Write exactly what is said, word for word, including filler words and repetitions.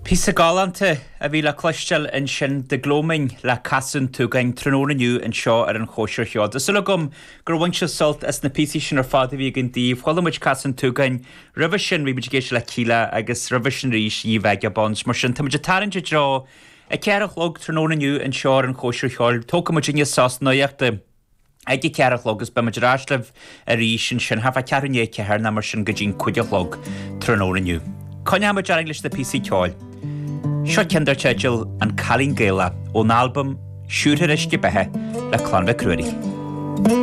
Píosa galánta a bhí le cloisteáil ansin The Gloaming le Casadh an tSúgáin tráthnóna inniu anseo ar an Chóisir Cheoil. Tá súil agam gur bhain sibh sult as na píosaí sin ar fad a bhí againn daoibh. Chuala muid Casadh an tSúgáin roimhe sin bhí muid ag éisteacht le Kíla agus roimhe sin arís Ye Vagabonds. Mar sin tá muid ag tarraingt i dtreo a ceathair a chlog tráthnóna inniu anseo ar an Chóisir Cheoil. Tógfaidh muid inniu sos nuachta. Ag a ceathair a chlog agus beimid ar ais libh arís ansin thart fá ceathrú i ndiaidh a ceathair nó mar sin go dtí'n cúig a chlog tráthnóna inniu. Coinneoimid orainn leis na píosaí ceoil. Seo ceann dar teideal An Cailín Gaelach ón albam Siúrtha Uisce Beatha le Clann Mhic Ruairí.